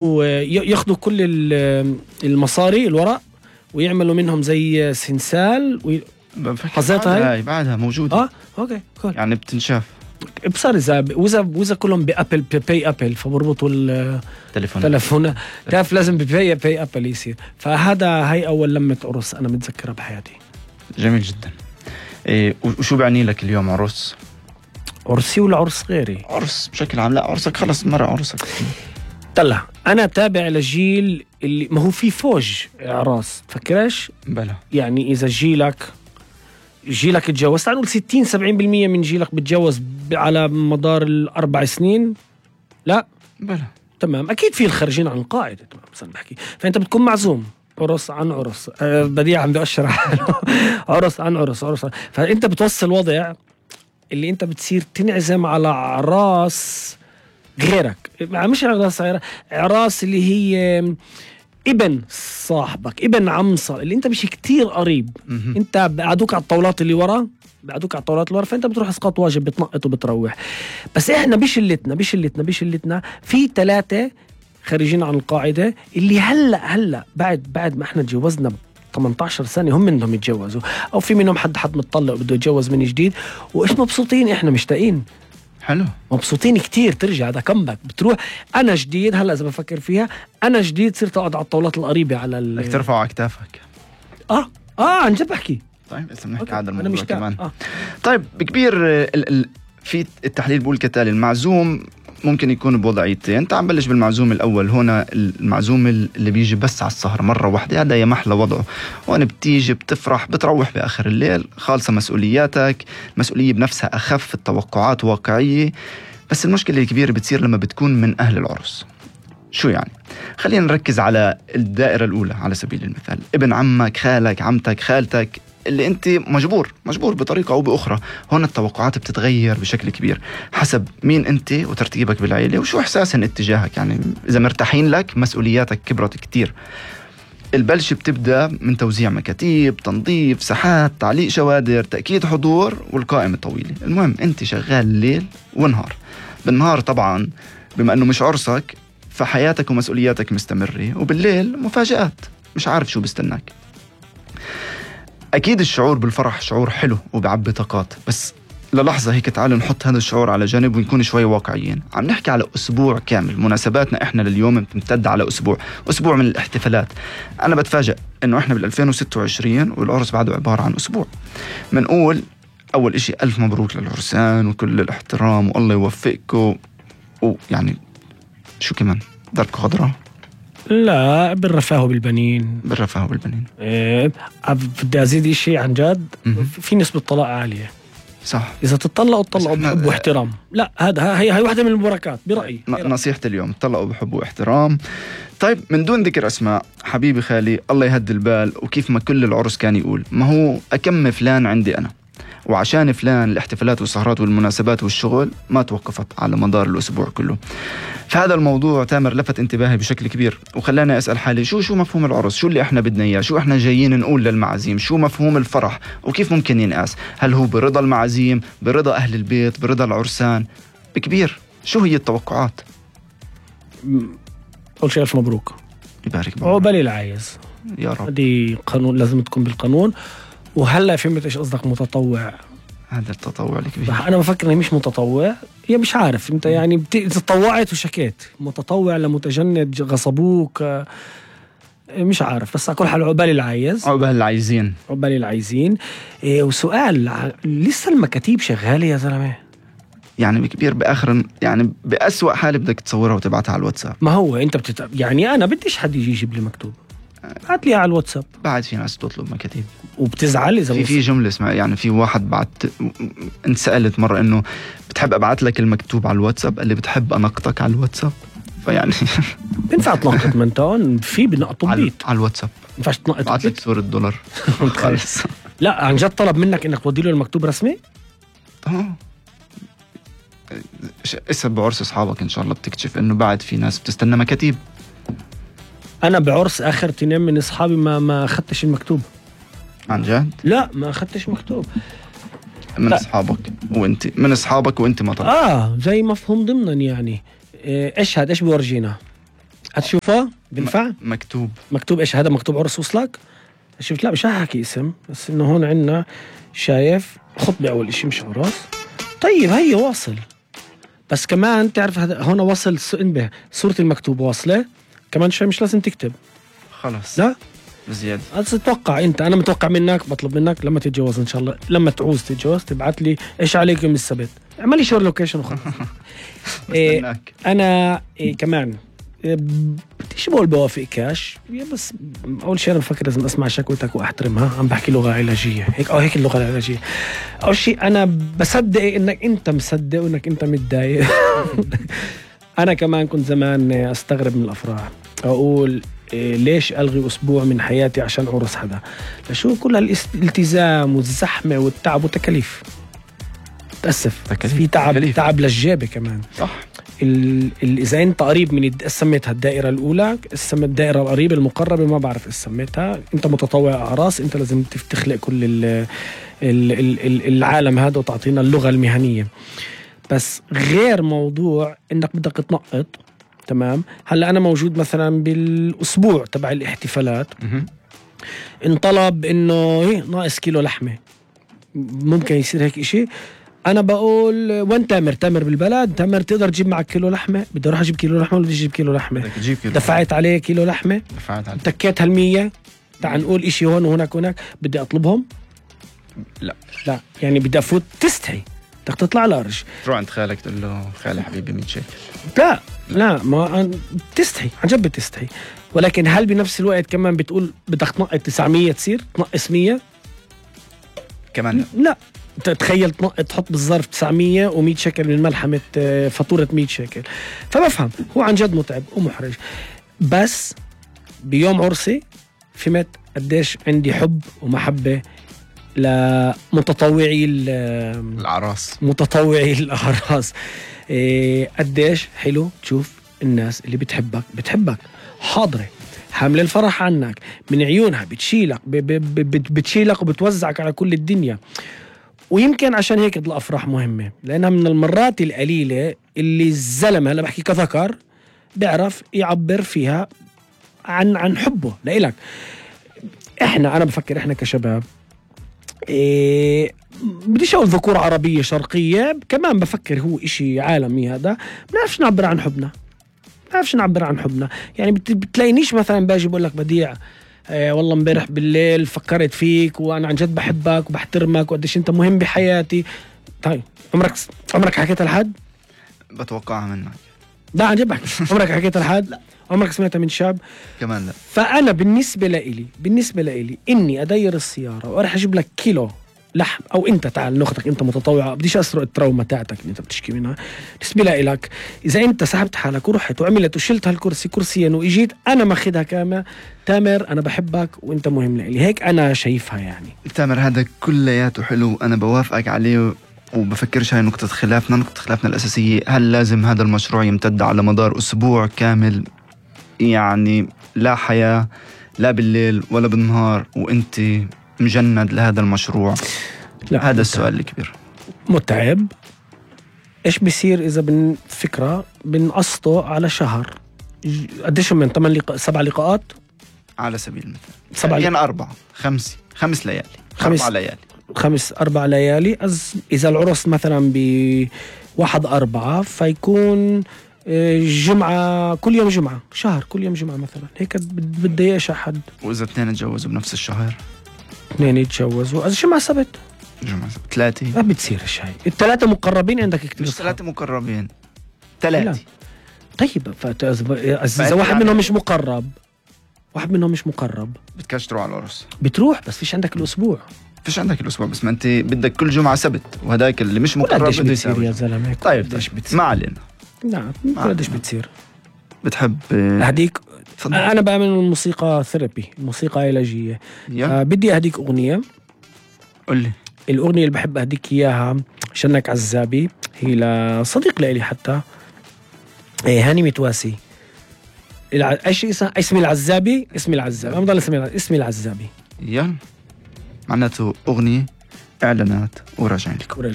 وياخدوا كل المصاري الورق ويعملوا منهم زي سنسال حظيتها هاي بعدها موجودة. اوكي كول. يعني بتنشاف بصير اذا كلهم بابل باي ابل فبربطوا التليفون تعرف لازم باي ابل يصير. هاي اول لمة عرس انا متذكرها بحياتي. جميل جدا. وشو بعني لك اليوم عرس؟ عرسي ولا عرس غيري؟ عرس بشكل عام. لا عرسك خلص مرة عرسك. طلع انا تابع لجيل اللي ما هو في فوج اعراس فكرش بلا يعني اذا جيلك اتجوز تعال نقول 60-70% من جيلك بتجوز على مدار ال4 سنين. لا بلا تمام اكيد في الخارجين عن القاعده. تمام بس انا بحكي فانت بتكون معزوم عرس عن عرس. بديع عم بأشرح عرس عن عرس فانت بتوصل وضع اللي انت بتصير تنعزم على اعراس غيرك. مش اعراس اللي هي ابن صاحبك ابن عم اللي انت مش كتير قريب. انت بعدوك على الطاولات اللي ورا فانت بتروح اسقاط واجب بتنقط وبتروح. بس احنا بشلتنا في 3 خارجين عن القاعدة اللي هلا بعد ما احنا تجوزنا 18 سنة هم منهم يتجوزوا او في منهم حد متطلق بده يتجوز من جديد وايش مبسوطين. احنا مشتاقين حلو مبسوطين كتير. ترجع هذا كمباك بتروح. انا جديد هلا اذا بفكر فيها انا جديد صرت اقعد على الطاولات القريبة على بدك ترفعوا على كتافك. عن جد بحكي. طيب اسا بنحكي هذا الموضوع كمان. طيب بكبير في التحليل بقول كتالي المعزوم ممكن يكون بوضعيتين. تعال نبلش بالمعزوم الأول. هنا المعزوم اللي بيجي بس على السهرة مرة واحدة هذا يا محلى وضعه. هون بتيجي بتفرح بتروح بآخر الليل خالصة مسؤولياتك. مسؤولية بنفسها أخف. التوقعات واقعية. بس المشكلة الكبيرة بتصير لما بتكون من أهل العرس. شو يعني؟ خلينا نركز على الدائرة الأولى على سبيل المثال. ابن عمك خالك عمتك خالتك اللي انت مجبور بطريقة او باخرى. هون التوقعات بتتغير بشكل كبير حسب مين انت وترتيبك بالعيلة وشو احساسهم اتجاهك. يعني اذا مرتاحين لك مسؤولياتك كبرت كتير. البلش بتبدأ من توزيع مكاتيب تنظيف ساحات تعليق شوادر تأكيد حضور والقائمة طويلة. المهم انت شغال ليل ونهار. بالنهار طبعا بما انه مش عرسك فحياتك ومسؤولياتك مستمرة وبالليل مفاجآت مش عارف شو بستناك. أكيد الشعور بالفرح شعور حلو وبعبي طاقات. بس للحظة هيك تعالوا نحط هذا الشعور على جانب ونكون شوي واقعيين. عم نحكي على أسبوع كامل. مناسباتنا إحنا لليوم بتمتد على أسبوع من الاحتفالات. أنا بتفاجأ إنه إحنا بال2026 والعرس بعده عبارة عن أسبوع. منقول أول إشي 1000 مبروك للعرسان وكل الاحترام والله يوفقكم. ويعني شو كمان دربكم خضراء. لا بالرفاه بالبنين. بدي أزيد شيء عن جد. في نسبة طلاق عالية. صح. إذا تطلقوا بحب واحترام. لا هي واحدة من البركات برأيي. نصيحة اليوم تطلقوا بحب واحترام. طيب من دون ذكر أسماء حبيبي خالي الله يهدي البال. وكيف ما كل العرس كان يقول ما هو أكم فلان عندي أنا وعشان فلان الاحتفالات والسهرات والمناسبات والشغل ما توقفت على مدار الأسبوع كله. فهذا الموضوع تامر لفت انتباهي بشكل كبير وخلاني أسأل حالي شو مفهوم العرس. شو اللي احنا بدنا إياه. شو احنا جايين نقول للمعازيم. شو مفهوم الفرح وكيف ممكن ينقاس. هل هو برضا المعازيم برضا أهل البيت برضا العرسان. بكبير شو هي التوقعات. أول شيء ألف مبروك. يبارك عقبالي العايز يا رب. هذه قانون لازم تكون بالقانون. وهلا فهمت ايش قصدك متطوع. هذا التطوع الكبير. انا بفكر اني مش متطوع. يا مش عارف انت يعني تطوعت وشكيت. متطوع لمتجند غصبوك مش عارف. بس على كل حال عقبالي العايز. عقبالي العايزين. وسؤال لسه المكاتيب شغاله يا زلمه. يعني بكبير بآخر يعني بأسوأ حال بدك تصورها وتبعتها على الواتساب. ما هو انت يعني انا بديش حد يجي يجيب لي مكتوب. بعت لي على الواتساب. بعد في ناس تطلب مكاتيب وبتزعل اذا في جمله اسمها يعني في واحد بعت انت سألت مره انه بتحب ابعت لك المكتوب على الواتساب اللي بتحب انقطك على الواتساب. فيعني بينفع تنقط من تون في بنقطوا بيت على الواتساب. ينفعش تنقط بعت لك صورة $. خلص. لا عن جد طلب منك انك تودي له المكتوب رسمي. اسهب بعرس اصحابك ان شاء الله بتكتشف انه بعد في ناس بتستنى مكاتيب. انا بعرس اخر 2 من اصحابي ما اخذتش المكتوب. عن جد؟ لا ما اخذتش مكتوب. من اصحابك وانت ما طلعت. زي مفهوم ضمنا يعني. ايش بورجينا هتشوفه بنفع مكتوب ايش هذا؟ مكتوب عرس وصلك. شفت؟ لا مش هحكي اسم، بس انه هون عندنا شايف خطبة اول اشي مش عرس. طيب هي واصل، بس كمان تعرف هذا هون وصل انبه صورة المكتوب واصلة كمان شوي، مش لازم تكتب خلص لا بزيادة. تتوقع انت، انا متوقع منك، بطلب منك لما تتجوز ان شاء الله، لما تعوز تتجوز تبعت لي ايش عليك يوم السبت، اعمل لي شور لوكيشن وخلاص. انا كمان بديش بقول بوافق كاش، بس اول شيء انا بفكر لازم اسمع شكوتك واحترمها. عم بحكي لغه علاجيه هيك، هيك اللغه العلاجيه. اول شيء انا بصدق انك انت مصدق وانك انت متضايق. انا كمان كنت زمان استغرب من الافراح، اقول ليش الغي اسبوع من حياتي عشان عرس حدا؟ لشو كل الالتزام والزحمه والتعب والتكاليف. تأسف في تعب للجيبه كمان. صح. إذا أنت قريب من سميتها الدائرة الأولى، الدائرة القريبة المقربة ما بعرف إيش سميتها، أنت متطوع أعراس، أنت لازم تخلق كل العالم هذا وتعطينا اللغة المهنية. بس غير موضوع إنك بدك تنقط. تمام. هلأ أنا موجود مثلا بالأسبوع تبع الاحتفالات، انطلب إنه ناقص كيلو لحمة، ممكن يصير هيك إشي. أنا بقول وين تامر بالبلد، تامر تقدر تجيب معك كيلو لحمة؟ بدي أروح أجيب كيلو لحمة ولا بدي أجيب كيلو لحمة؟ دفعت عليه كيلو لحمة، تكيت هال100. تعال نقول إشي هون وهناك بدي أطلبهم؟ لا يعني بدي أفوت تستحي، بدك تطلع لارج، تروح عند خالك تقول له خالي حبيبي 100 شيكل. لا ما تستحي، عن جد بتستحي. ولكن هل بنفس الوقت كمان بتقول بدك تنقص 900 تصير تنقص 100 كمان؟ لا تخيل تحط بالظرف 900 و100 شكل من ملحمة فاتورة 100 شكل. فبفهم هو عن جد متعب ومحرج. بس بيوم عرسي فهمت قديش عندي حب ومحبة لمتطوعي الأعراس، متطوعي الأعراس. قديش حلو تشوف الناس اللي بتحبك حاضرة حاملة الفرح عنك من عيونها، بتشيلك وبتوزعك على كل الدنيا. ويمكن عشان هيك الأفراح مهمة، لأنها من المرات القليلة اللي الزلمة، هلا بحكي كذكر، بيعرف يعبر فيها عن حبه لإلك. أنا بفكر إحنا كشباب، بديش أقول ذكور عربية شرقية، كمان بفكر هو إشي عالمي هذا، بنعرفش نعبر عن حبنا. يعني بتلاقينيش مثلا باجي بقول لك بديع والله امبارح بالليل فكرت فيك وانا عن جد بحبك وبحترمك وقديش انت مهم بحياتي. طيب عمرك حكيتها لحد؟ بتوقعها منك. لا عن جد بحكي. عمرك حكيتها لحد؟ لا. عمرك سمعتها من شاب؟ كمان لا. فانا بالنسبه لإلي اني ادير السياره وارح اجيب لك كيلو لحم، او انت تعال ناخذك انت متطوعه، بديش اسرق التراوما تاعتك اللي انت بتشكي منها، بالنسبه لك اذا انت سحبت حالك ورحت وعملت وشلت هالكرسي كرسيين واجيت انا ماخذها كامل، تامر انا بحبك وانت مهم لي، هيك انا شايفها. يعني تامر هذا كلياته حلو، انا بوافقك عليه وبفكرش هاي نقطة خلافنا الأساسية. هل لازم هذا المشروع يمتد على مدار أسبوع كامل؟ يعني لا حياة لا بالليل ولا بالنهار وانت مجند لهذا المشروع؟ لا، هذا السؤال الكبير. متعب. ايش بيصير اذا فكرة بنقسطه على شهر؟ قديش من 7 لقاءات على سبيل المثال، يعني 4 5 ليالي، 4 ليالي. اذا العرس مثلا ب1/4 فيكون جمعة كل يوم جمعة، شهر كل يوم جمعة مثلا، هيك بتضايقش أحد. وإذا 2 تجوزوا بنفس الشهر، 2 يتجوزوا جمعة سبت 3 ما بتصير هاي. ال3 مقربين عندك كتير، مش 3 مقربين 3. طيب إذا واحد منهم مش مقرب بدكش تروح على العرس، بتروح بس فيش عندك الأسبوع. بس ما أنت بدك كل جمعة سبت، وهداك اللي مش مقرب بده يصير يا زلمة. طيب ما علينا. نعم قديش بتصير. بتحب أهديك؟ أنا بآمن الموسيقى ثيرابي، الموسيقى علاجية. بدي أهديك أغنية. قل لي الأغنية اللي بحب أهديك إياها شنك عزابي، هي لصديق لإلي حتى، هاني متواسي. ايش اسمي العزابي، ما بضل اسمي العزابي. يلا معناته أغنية إعلانات وراجعين لكم.